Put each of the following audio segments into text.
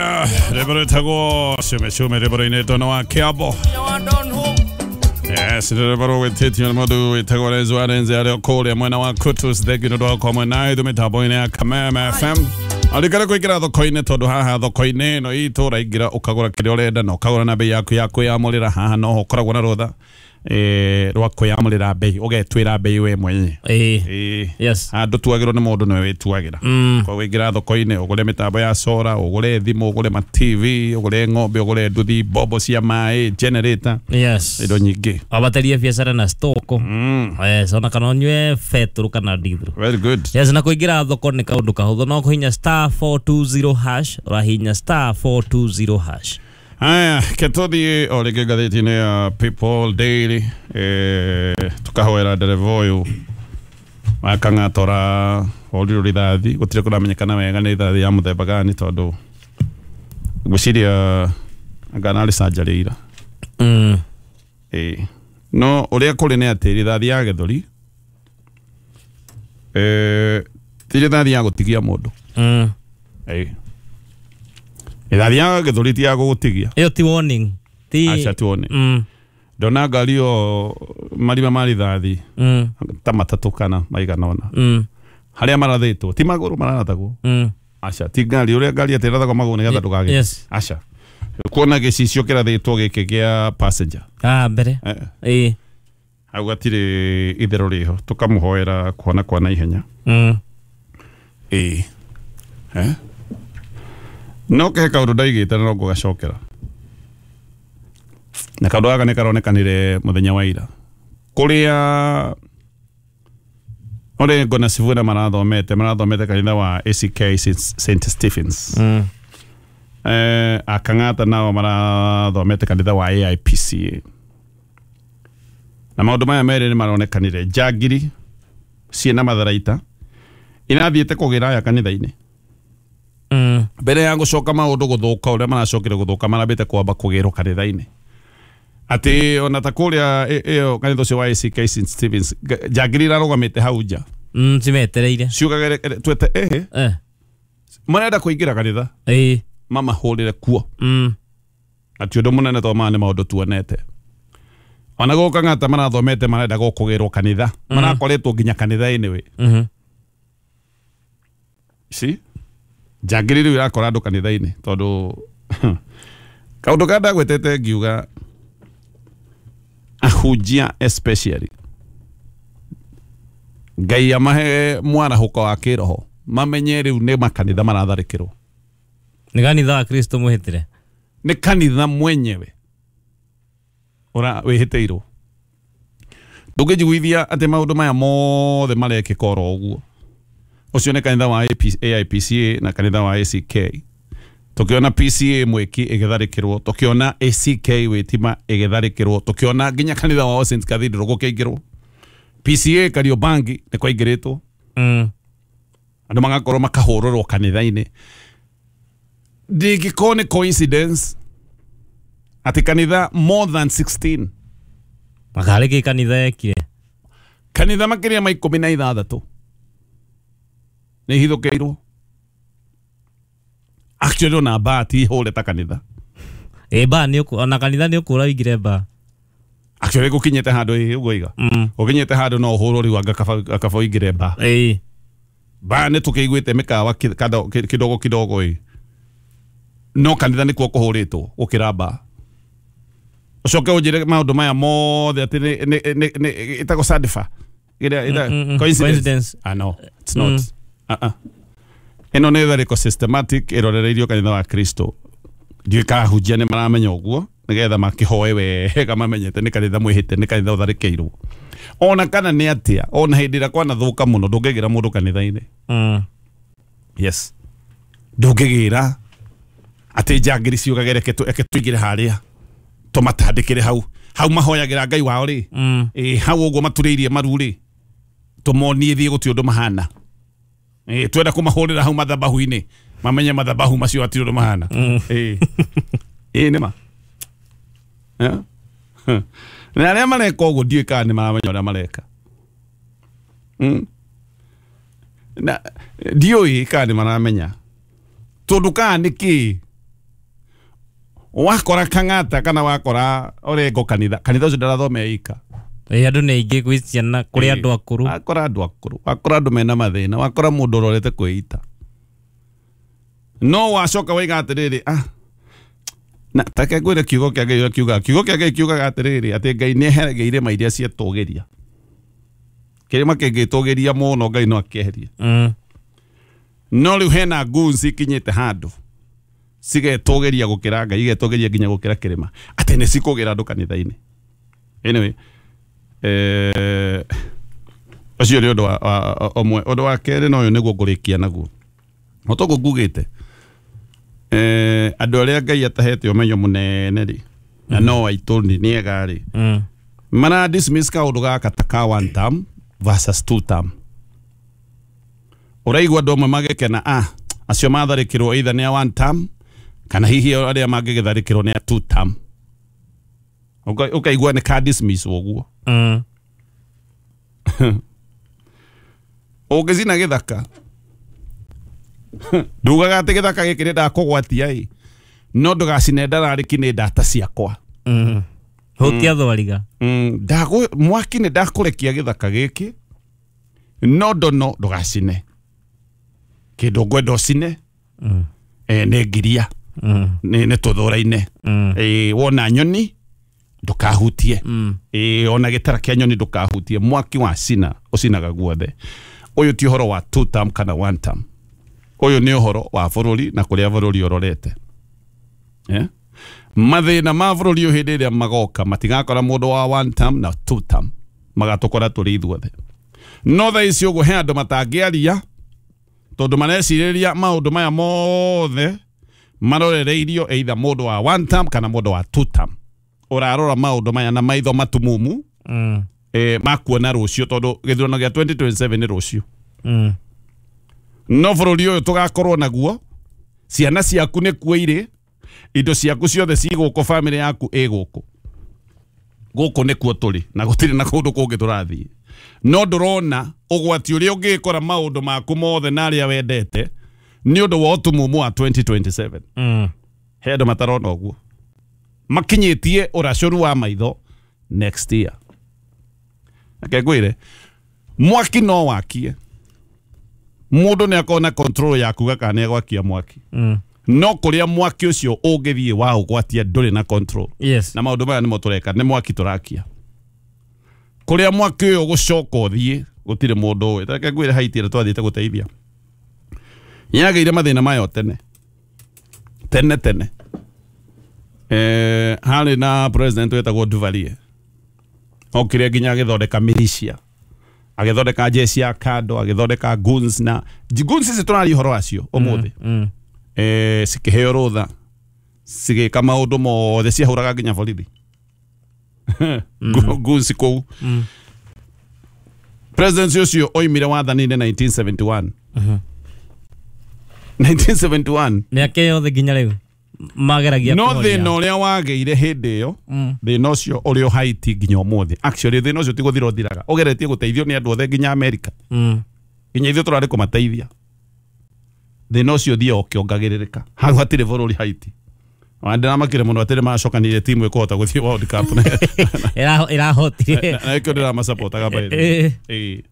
Aya, rwĩmbo rwĩtagwo cume cume rwĩmbo rũinĩtwo nĩ wa Kĩambo. Yes, rwĩmbo rũgwĩtĩtio nĩ mũndũ wĩtagwo Renzo Arenze arĩ o kũrĩa mwena wa Kutus. Thengiũ nĩ ũndũ wa gũkorwo mwena ithuĩ mĩtambo-inĩ ya Kameme FM. Arikare kũingĩra thoko-inĩ tondũ haha thoko-inĩ ĩno itũ ũraingĩra ũkagũra kĩrĩa ũrenda na ũkagũra na bei yaku ya kwĩyamũrĩra. Haha noho ũkoragwo na rũtha rwa kwĩyamũrĩra bei, ũgetuĩra bei we mwenyewe. Ĩĩ. Yes. Handũ tuagĩrwo nĩ mũndũ nĩwe wĩtuagĩra. Koguo ingĩra thoko-inĩ ũgũre mĩtambo ya solar, ũgũre thimũ, ũgũre ma TV, ũgũre ng'ombe, ũgũre nduthi, mbombo cia maĩ, generator, Yes. indo nyingĩ. Wabaterie biacara na stoko. Yes, ona kana ũnyue betũrũ kana ndithũrũ. Very good. Yes, na kũingĩra thoko nĩ kaũndũ kahũthũ, no kũhinya star 420 hash, ũrahinya star 420 hash. Haya, ketũthiĩ o rĩngĩ ngathĩti-inĩ ya People Daily, tukahoera ndereba ũyũ wa Kang'atora horirwo rithathi, gũtirĩ kũramenyekana wega nĩ rithathi ya mũthemba gani tondũ ngwĩciria anga narĩ canjarĩ ira. Ĩĩ. No ũrĩa kũrĩ nĩ atĩ rithathi ya gĩthũri ti rithathi ya gũtigia mũndũ. Ĩĩ. Rithathi ya gĩthũri ti ya gũgũtigia. Ĩyo ti warning. Ti Aca ti warning. Ndona ngari ĩyo marima ma rithathi ta matatũ kana maigana ũna. Harĩa marathĩtwo ti magũrũ mararathagwo. Aca ti ngari, ũrĩa ngari atĩ ĩrathagwo magũrũ nĩgetha ndũgagĩte. Yes. Aca. Kuona gĩcicio kĩrathĩtwo gĩkĩ gĩa passenger. Ah, mbere. Ĩĩ. Hau gatirĩ itherũ rĩho, tũkamũhoera kuona kwa naihenya. Ĩĩ. No kehe kaũndũ ndaigĩte na no ngũgacokera. Na kaũndũ gaka nĩ karonekanire mũthenya wa ira. Kũrĩa Orengo na Sifuna marathomete kanitha wa ACK St. Stephens. Akang'ata nao marathomete kanitha wa AIPCA. Na maũndũ maya merĩ nĩ maronekanire njangiri ciĩna matharaita irathiĩte kũgĩra aya kanitha-inĩ. Mbere ya gũcoka maũndũ gũthũka ũrĩa maracokire gũthũka, marambĩte kwamba kũgĩrwo kanitha-inĩ. Atĩ ona ta kũrĩa ĩyo kanitha ũcio wa ACK St. Stephens, njangiri irarũgamĩte hau nja. Cimetereire. Ciugage twete marenda kũingĩra kanitha. Mamahũrĩre kuo. Na ti ũndũ mũnene tondũ maya nĩ maũndũ tuonete. Ona gũka Ng'ata marathomete marenda gũkũgĩrwo kanitha. Marakoretwo nginya kanitha-inĩ we. See? Njangiri rĩu irakora andũ kanitha-inĩ tondũ kaũndũ karĩa ndagwetete ngiuga ahunjia especially Ngai amahe mwarahũko wa kĩroho mamenye rĩu nĩ makanitha maratharĩkĩrwo. Nĩ kanitha wa Kristo mũhĩtĩre. Nĩ kanitha mwenyewe ũra wĩhĩtĩirwo. Ndũngĩnjiguithia atĩ maũndũ maya mothe marekĩka oro ũguo. Ũcio nĩ kanitha wa AIPCA na kanitha wa ACK. Tũkĩona PCA mwĩki ĩgĩtharĩkĩrwo, tũkĩona ACK wĩtima ĩgĩtharĩkĩrwo, tũkĩona nginya kanitha wa All Saints Cathedral gũkĩingĩrwo. PCA Kariobangi nĩ kwaingĩrĩtwo. Andũ magakorwo makahũrũrwo kanitha-inĩ. Ndingĩkorwo nĩ coincidence atĩ kanitha more than 16 Makarĩ kĩ kanitha yekire? Kanitha makĩria ma 16 nĩ ihithũkĩirwo. Actually ona baa ti hũre ta kanitha. Ĩ baa nĩ ona kanitha nĩ ũkũra ũingĩre baa. Actually gũkinyĩte handũ ĩ ũguo iga. Gũkinyĩte handũ no ũhũrwo rĩu anga kaba ũingĩre baa. Ĩĩ. Baa nĩ tũkĩiguĩte mĩkawa kidogo kidogo ĩ. No kanitha nĩkuo kũhũrĩtwo gũkĩra baa. Ũcoke ũnjĩre maũndũ maya mothe atĩ nĩ ĩtagwo sadifa. Coincidence. Ah no, it's not. Ĩno nĩ tharĩko systematic ĩrorereirio kanitha wa Kristo. Ndiũĩ kana ahunjia nĩ maramenya ũguo nĩgetha makĩhoe wega mamenyete nĩ kanitha mwĩhĩte, nĩ kanitha ũtharĩkĩirwo. Ona kana nĩ atĩa, ona hĩndĩ ĩrĩa kwanathũka mũno ndũngĩgĩra mũndũ kanitha-inĩ. Yes. Ndũngĩgĩra atĩ njangiri ciugage reke tũingĩre harĩa tũmatandĩkĩre hau hau mahoyagĩra Ngai wao rĩ. Ĩ hau ũguo maturĩirie maru rĩ, tũmonie thiĩ gũtirĩ ũndũ mahana. Twenda kũmahũrĩra hau mathabahu-inĩ mamenye mathabahu macio hatirĩ ũndũ mahana. Ĩ nĩ ma. Na arĩa mareka ũguo ndiũĩ kana nĩ maramenya ũrĩa mareka. Na ndiũĩ kana nĩ maramenya tondũ kana nĩ kĩ Wakora Kang'ata kana wakora Orengo kanitha, kanitha ũcio ndarathome ika. Andũ nĩ aingĩ gwĩ ciana kũrĩ andũ akũrũ. Wakora andũ akũrũ, wakora andũ mena mathĩna, wakora mũndũ ũrorete kwĩita. No wacoka waiga atĩrĩrĩ, ah, na take ngwĩre kiugo kĩa Ngai ũrĩa kiugaga. Kiugo kĩa Ngai kiugaga atĩrĩrĩ, atĩ Ngai nĩ eheragia irĩma iria cietũgĩria. Kĩrĩma kĩngĩtũgĩria mũno Ngai no akĩeherie. No rĩu hena goons ikinyĩte handũ cigetũgĩria gũkĩra Ngai, igetũgĩria nginya gũkĩra kĩrĩma, atĩ nĩ cikũgĩra andũ kanitha-inĩ. Anyway, ũcio nĩ ũndũ wa ũmwe. Ũndũ wa kerĩ na ũyũ nĩguo ngũrĩkia naguo. O toguo ngugĩte, andũ arĩa Ngai atahete ũmenyo mũnene rĩ, na no aitũ nĩ ega rĩ, mara dismiss kaũndũ gaka ta ka one term versus two term. Ũraigua andũ amwe magĩkena, ah, acio matharĩkĩrwo either nĩ a one term kana hihi arĩa mangĩgĩtharĩkĩrwo nĩ a two term. Ũkaigua nĩ ka dismiss ũguo. Ũngĩcina gĩthaka, ndugaga atĩ gĩthaka gĩkĩ nĩ ndakũgwatia ĩ, no ndũgacine ndararĩki nĩ ndata ciakwa. Hutia thwariga. Mwaki nĩ ndakũrekia gĩthaka gĩkĩ, no ndono ndũgacine. Kĩndũ ngwenda ũcine, nĩ ngiria, nĩ tũthũra-inĩ. Wona nyoni ndũkahutie. Ona gĩtara kĩa nyoni ndũkahutie. Mwaki wa cina ũcinaga guothe. Ũyũ ti ũhoro wa two term kana one term. Ũyũ nĩ ũhoro wa bũrũri na kũrĩa bũrũri ũrorete. Mathĩna ma bũrũri ũyũ hĩndĩ ĩrĩa magoka matigakora mũndũ wa one term na two term, magatũkora tũrĩ ithuothe. No thaa ici ũguo he andũ matangĩaria tondũ marecirĩria maũndũ maya mothe marorereirio either mũndũ wa one term kana mũndũ wa two term. Ũrarora maũndũ maya na maitho matumumu, makuona rũciũ tondũ gĩthurano gĩa 2027 nĩ rũciũ. No bũrũri ũyũ tũgakorwo naguo, ciana ciaku nĩ kuo irĩ, indo ciaku ciothe ci gũkũ, famĩlĩ yaku ĩ gũkũ. Gũkũ nĩkuo tũrĩ na gũtirĩ na kũndũ kũngĩ tũrathiĩ. No ndũrona ũgwati ũrĩa ũngĩkora maũndũ maku mothe na arĩa wendete nĩ ũndũ wa ũtumumu wa 2027. He andũ matarona ũguo, makinyĩtie ũracũru wa maitho next year. Reke ngwĩre, mwaki no wakie, mũndũ nĩ akorwo na control ya kuga kana nĩ egwakia mwaki. No kũrĩa mwaki ũcio ũngĩthiĩ wa ũgwatia ndũrĩ na control. Yes. Na maũndũ maya nĩmo tũreka, nĩ mwaki tũrakia. Kũrĩa mwaki ũyũ ũgũcoka ũthiĩ gũtirĩ mũndũ ũĩ. Reke ngwĩre, Haiti ĩrĩa twathiĩte gũteithia yagĩire mathĩna mayo tene tene tene. Harĩ na president wetagwo Duvalier, okire nginya agĩthondeka militia, agĩthondeka jeshi ya kando, agĩthondeka goons, na goons ici tũraria ũhoro wacio ũmũthĩ. Cikĩheo rũtha, cigĩka maũndũ mothe, ciahũraga nginya borithi. Goons kũu. President ũcio oimire wathani-inĩ 1971. 1971. Mĩaka yothe nginya rĩu mageragia no kũhoria. Thĩna ũrĩa wagĩire hĩndĩ ĩyo, thĩna ũcio ũrĩ o Haiti nginya ũmũthĩ. Actually thĩna ũcio ti gũthira ũthiraga, ũgeretie gũteithio nĩ andũ othe nginya Amerika, nginya ithuĩ tũrarĩ kũmateithia. Thĩna ũcio ũthiaga ũkĩongagĩrĩrĩka. Hau hatirĩ bũrũri Haiti. Ona ndĩramakire mũno atĩ nĩmacokanire timu ĩkũhota gũthiĩ World Cup. Ĩrahotire. Na nĩkĩo ndĩramacapotaga by the way.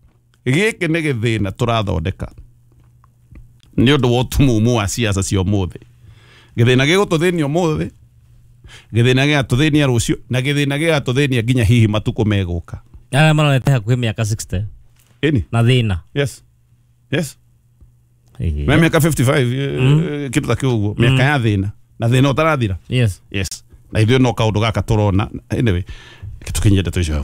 Gĩkĩ nĩ gĩthĩna tũrathondeka nĩ ũndũ wa ũtumumu wa ciaca cia ũmũthĩ. Gĩthĩna gĩgũtũthĩnia ũmũthĩ, gĩthĩna gĩgatũthĩnia rũciũ, na gĩthĩna gĩgatũthĩnia nginya hihi matukũ megũka. Arĩa marorete hakuhĩ mĩaka 60. Ĩni. Na thĩna. Yes. Yes. Me mĩaka 55, kĩndũ ta kĩu ũguo, mĩaka ya thĩna na thĩna ũtarathira. Yes. Yes. Na ithuĩ no kaũndũ gaka tũrona. Anyway, tũkinyie ndeto icio hau.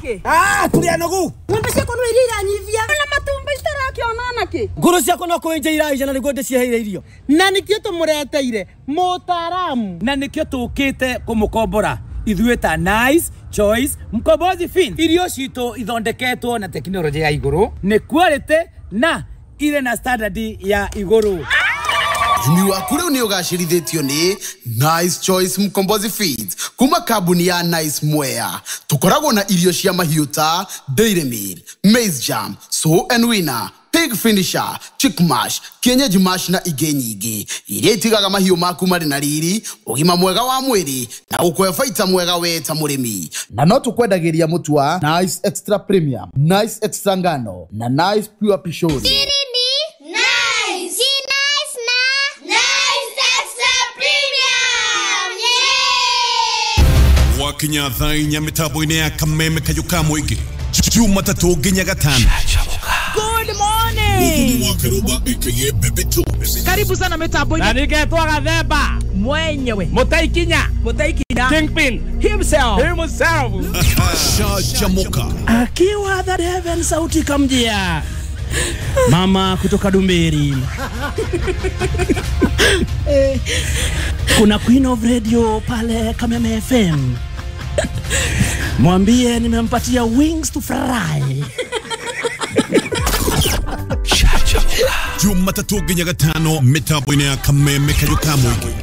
Tũrĩ anogu. Ng'ombe ciakwa no iria iranyivia. Na matumbi citarakĩona nakĩ. Ngũrũ ciakwa no kũenja iraija na nĩguo ndĩciheire irio. Na nĩkĩo tũmũreteire mũtaaramu. Na nĩkĩo tũkĩte kũmũkombora ithuĩ ta Nice Choice Mkombozi Fin. Irio citũ ithondeketwo na tekinoronjĩ ya igũrũ, nĩ quality na irĩ na standard ya igũrũ. Ũrĩmi waku rĩu nĩ ũgacĩrithĩtio nĩ Nice Choice Mkombozi Feeds kuma kambuni ya Nice Mwea. Tũkoragwo na irio cia mahiũ ta Dairy Meal, Maize Jam, Sow and Winner, Pig Finisher, Chick Mash, Kienyeji Mash na ingĩ nyingĩ iria itigaga mahiũ maku marĩ na riri, ũgima mwega wa mwĩrĩ na gũkũhe baita mwega we ta mũrĩmi. Na no tũkwendagĩria mũtu wa Nice Extra Premium, Nice Extra Ngano na Nice Pure Pishori. Nice. Nice na Nice Extra Premium. Yeah. Wakinya thaa inya mĩtambo-inĩ ya Kameme Kayũ ka Mũingĩ Jumatatũ nginya Gatano. Good morning. Karibu sana mitambo-inĩ. Na ningetwo Gathemba mwenyewe Mũtaikinya Mũtaikinya Kingpin himself himself. Shajamuka akiwa that heaven sauti kamjia mama kutoka Dumberi. Kuna Queen of Radio pale Kameme FM, mwambie nimempatia wings to fry. Jumatatũ nginya Gatano mĩtambo-inĩ ya Kameme Kayũ ka Mũingĩ.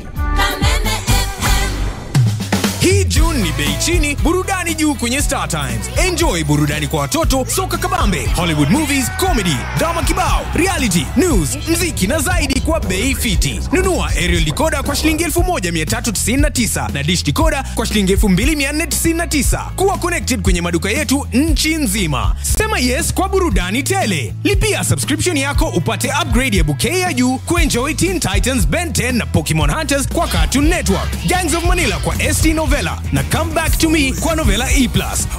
Hii June ni bei chini, burudani juu kwenye Star Times. Enjoy burudani kwa watoto, soka kabambe, Hollywood movies, comedy, drama kibao, reality, news, mziki na zaidi kwa bei fiti. Nunua aerial decoder kwa shilingi 1399 na dish decoder kwa shilingi 2499. Kuwa connected kwenye maduka yetu nchi nzima. Sema yes kwa burudani tele. Lipia subscription yako upate upgrade ya bouquet ya juu kuenjoy Teen Titans, Ben 10 na Pokemon Hunters kwa Cartoon Network, Gangs of Manila kwa ST Novella na Come Back to Me kwa Novella E+,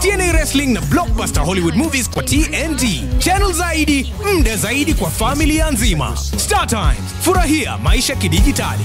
TNA Wrestling na Blockbuster Hollywood Movies kwa TNT. Channel zaidi, mda zaidi kwa familia nzima. Star Times, furahia maisha kidijitali.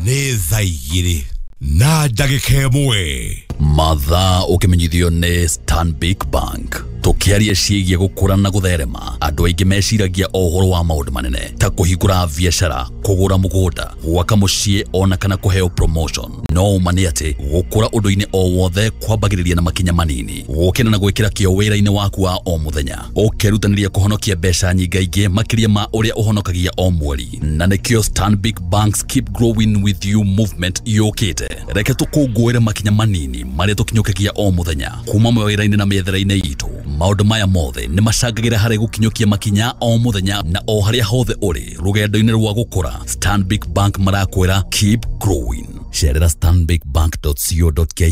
Nĩ thaa igĩrĩ na ndagĩka ĩmwe. Mathaa ũkĩmenyithio nĩ Stanbic Bank. Tũkĩaria ciĩgiĩ gũkũra na gũtherema, andũ aingĩ meciragia o ũhoro wa maũndũ manene ta kũhingũra biacara, kũgũra mũgũnda, gwaka mũciĩ ona kana kũheo promotion. No ũma nĩ atĩ gũkũra ũndũ-inĩ o wothe kwambagĩrĩria na makinya manini, gũkĩra na gwĩkĩra kĩo wĩra-inĩ waku wa o mũthenya, ũkerutanĩria kũhonokia mbeca nyingaingĩ makĩria ma ũrĩa ũhonokagia o mweri. Na nĩkĩo Stanbic Bank's Keep Growing With You movement yũkĩte. Reke tũkũngũĩre makinya manini marĩa tũkinyũkagia o mũthenya kuma mawĩra-inĩ na mĩethere-inĩ itũ. Maũndũ maya mothe nĩ macangagĩra harĩ gũkinyũkia makinya o mũthenya na o harĩa hothe ũrĩ rũgendo-inĩ rwa gũkũra. Stanbic Bank marakwĩra keep growing. Cerera stanbicbank.co.ke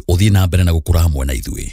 ũthiĩ na mbere na gũkũra hamwe na ithuĩ.